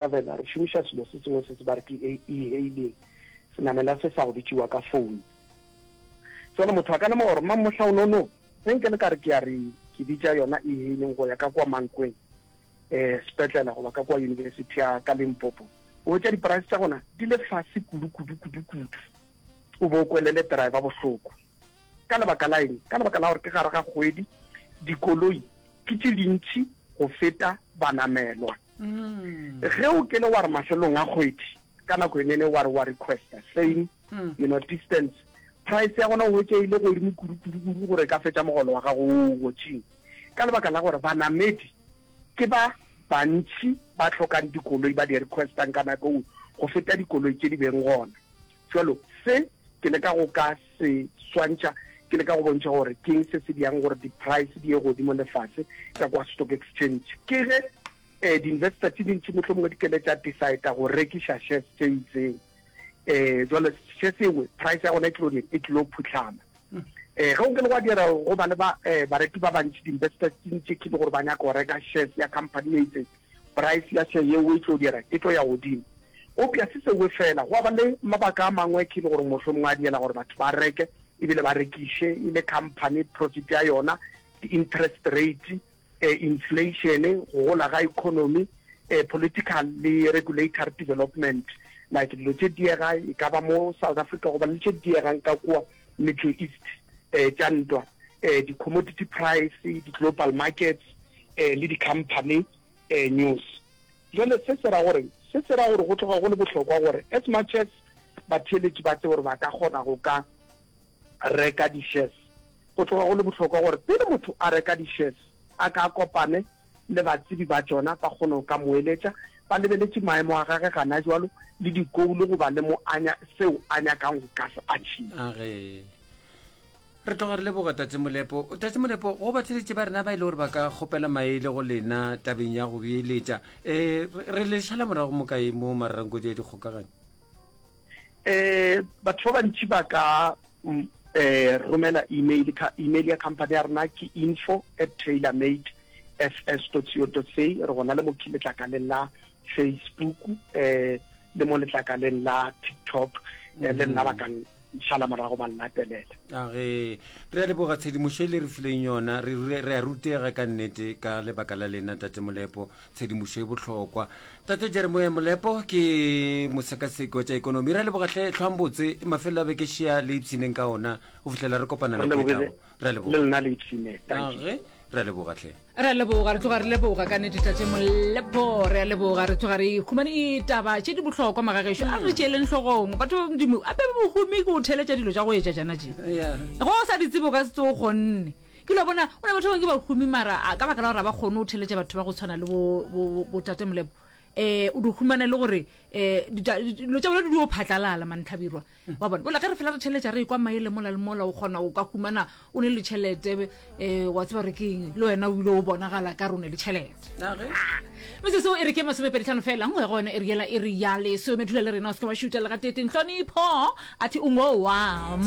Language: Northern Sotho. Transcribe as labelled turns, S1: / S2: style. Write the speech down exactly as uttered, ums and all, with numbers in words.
S1: Travela re šomiša selo se sengwe se se ba re ke e-hailing, senamela se sa go bitšiwa ka phone. Jwale motho a ka lemoga gore mammohla o no ge nke le ka re ke a re ke bitša yona e-hailing go ya ka kua Mankweng um sepetlela goba ka kua university ya ka Limpopo, o hwetša di-price tša gona di le fase kudu kudu kudu kudu, o bo o kwelele driver bohloko. Ka lebaka la eng? Ka lebaka la gore ke gare ga kgwedi, dikoloi ke tše dintši go feta banamelwa. Ge o kele wa re mafelong a kgwedi, ka nako enene wa re wa requesta same you know distance, price ya gona o hwetša e ile godimo kudu kudu kudu gore e ka fetša mogolo wa gago o o gotšeng. Ka lebaka la gore banamedi ke ba bantši ba hlokang dikoloi ba di requestang ka nako eo go feta dikoloi tše di beng gona. Jwalo se ke leka go ka se swantšha, ke leka go bontšha gore keng se se diang gore di-price di ye godimo le fase ka kwa stock exchange. Ke ge um di-investor tše dintši mohlomongwe di kele tša decida go rekiša shares tše itseng, um jwale shares engwe price ya gona e tlilo e tlilo phuhlama. Um ge o kele gwa dira go ba le ba um bareki ba bantši, di-investors tše ntši ke le gore ba nyaka go reka shares ya company e itseng, price ya share yeo e tlo dira e tlo ya godimo. Eupša se sengwe fela, gwa ba le mabaka a mangwe ke le gore mohlomongwe a diela gore batho ba reke ebile ba rekiše, e le company profit ya yona, di-interest rate, eh, inflation, go gola ga economy, eh, political le regulatory development, like dilo tše diega e ka ba mo South Africa goba le tše diegang ka kua Middle East, eh, tša ntwa, eh, di-commodity price, di-global markets, eh, le di-company eh, news. Jwale se se ra gore, se se ra gore go tloga go le bohlokwa gore as much as batheeletši ba tsebe gore ba ka kgona go ka reka di-shares, go tloga go le bohlokwa gore pele motho a reka di-shares a ka kopane le batsebi ba tšona, ba kgone go ka mo eletša, ba lebeletše maemo a gage gana jwalo le di-goal goba le mo a seo a nyakang go ka se achieve.
S2: Age re tloga re leboga Tate Molepo. Tate Molepo, go batheletše ba rena ba e le gore ba ka kgopela maele go lena tabeng ya go beeletša, um re le šala morago mo kae mo mararankodi ya dikgokaganyo?
S1: Um batho ba bantši ba ka um romela email, ka email ya company ya rena ke info at tailormade fs dot co dot za. Re gona le mo letlakaleng la Facebook, um le mo letlakaleng la TikTok, le nna ba ka šala morago ba llatelela.
S2: Age re a leboga tshedimošo e le re fileng yona, re re a rutega ka nnete ka lebaka la lena Tate Molepo, tshedimošo e bohlokwa. Tate Jeremiah Molepo ke mosekaseki wa tša ekonomi, re a leboga hle, hlwang botse, mafelelo a beke šea le ipshineng ka ona go fihlela re kopana
S1: Re
S2: nako e
S1: lebogile
S2: tlago. Re a
S1: le
S2: leboga.
S1: lena le ipshine. Thank you.
S2: Age re a leboga hle.
S3: Re a leboga, re tloga re leboga ka nnete Tate Molepo, re a leboga, re tloga re humane taba tše di bohlokwa magagešo, a re tšeeleng hlogong batho ba Modimo, ape bohumi ke o theletša dilo tša go etša tšana tše,
S2: Yeah.
S3: ge o sa di tsebe o ka se tsoge o kgonne. Ke lo bona o na batho ba bangwe ke bahumi mara a ka baka la gore ga ba kgone go theletša batho ba go tshwana le bo, bo, bo Tate Molepo, um o di humana le gore um dilo tša bona di dio phatlalala mantlhabirwa wa bona. Bola ge re fela re theletša re ekwa maele mola le mola, o kgona o ka humana o ne le tšhelete, um wa tseba gore ke eng, le wena o ile o bonagala ka re o ne le tšhelete.
S2: Age
S3: Metsotso e re ke masomepedi tlhano fela nngwe gona e re yela e re ya lesome, dula le rena o se ke wa šuta le gatete. Nhlonipho a thi o ngo wa.